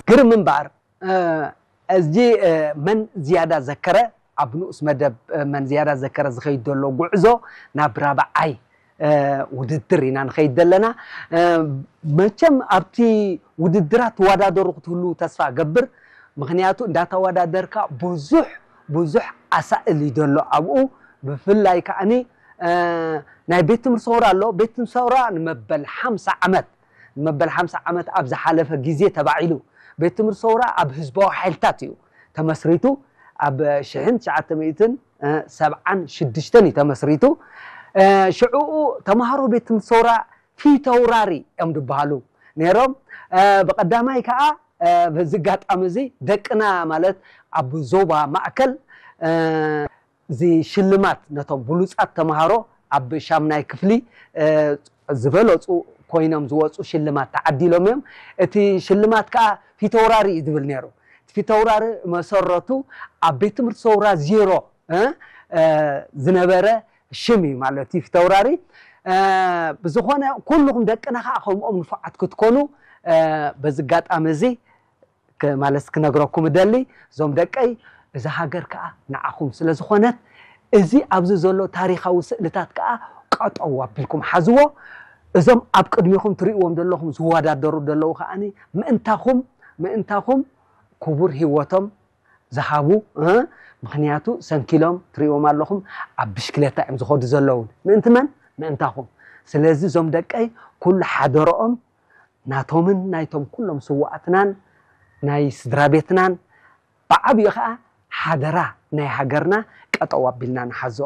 ግርም እምበኣር፣ እዚ መን ዝያዳ ዘከረ ኣብ ንኡስ መደብ መን ዝያዳ ዘከረ ዝኸይድ ዘሎ ጉዕዞ ናብ ራብዓይ ውድድር ኢና ንኸይድ ዘለና። መቸም ኣብቲ ውድድራት ተወዳደሩ ክትህሉ ተስፋ ገብር። ምክንያቱ እንዳተወዳደርካ ብዙሕ ብዙሕ ኣሳእል እዩ ዘሎ ኣብኡ። ብፍላይ ከዓኒ ናይ ቤት ትምህርቲ ሰውራ ኣሎ። ቤት ትምህርቲ ሰውራ ንመበል ሓምሳ ዓመት ንመበል ሓምሳ ዓመት ኣብ ዝሓለፈ ግዜ ተባዒሉ። ቤት ትምህርቲ ሰውራ ኣብ ህዝባዊ ሓይልታት እዩ ተመስሪቱ። ኣብ ሽሕን ትሽዓተ ሚእትን ሰብዓን ሽዱሽተን እዩ ተመስሪቱ። ሽዕኡ ተምሃሮ ቤት ትምህርቲ ሰውራ ፊተውራሪ እዮም ዝበሃሉ ነይሮም። ብቐዳማይ ከዓ በዚ ኣጋጣሚ እዚ ደቅና ማለት ኣብ ዞባ ማእከል እዚ ሽልማት ነቶም ብሉጻት ተምሃሮ ኣብ ሻምናይ ክፍሊ ዝበለጹ ኮይኖም ዝወፁ ሽልማት ተዓዲሎም እዮም። እቲ ሽልማት ከዓ ፊተውራሪ እዩ ዝብል ነይሩ። እቲ ፊተውራሪ መሰረቱ ኣብ ቤት ትምህርቲ ሰውራ ዜሮ ዝነበረ ሽም እዩ ማለት እዩ ፊተውራሪ። ብዝኾነ ኩልኹም ደቅና ከዓ ከምኦም ንፉዓት ክትኮኑ በዚ ኣጋጣሚ እዚ ማለት ክነግረኩም እደሊ። እዞም ደቀይ እዛ ሃገር ከዓ ንዓኹም ስለ ዝኾነት እዚ ኣብዚ ዘሎ ታሪኻዊ ስእልታት ከዓ ቀጠው ኣቢልኩም ሓዝዎ። እዞም ኣብ ቅድሚኹም ትርእይዎም ዘለኹም ዝወዳደሩ ዘለዉ ከዓ ምእንታኹም ምእንታኹም ክቡር ህይወቶም ዝሃቡ ምክንያቱ ሰንኪሎም ትርእይዎም ኣለኹም ኣብ ብሽክሌታ እዮም ዝኸዱ ዘለዉ ምእንቲ መን ምእንታኹም። ስለዚ እዞም ደቀይ ኩሉ ሓደረኦም ናቶምን ናይቶም ኩሎም ስዋኣትናን ናይ ስድራ ቤትናን ብዓብዩ ከዓ ሓደራ ናይ ሃገርና ቀጠው ኣቢልና ንሓዞ።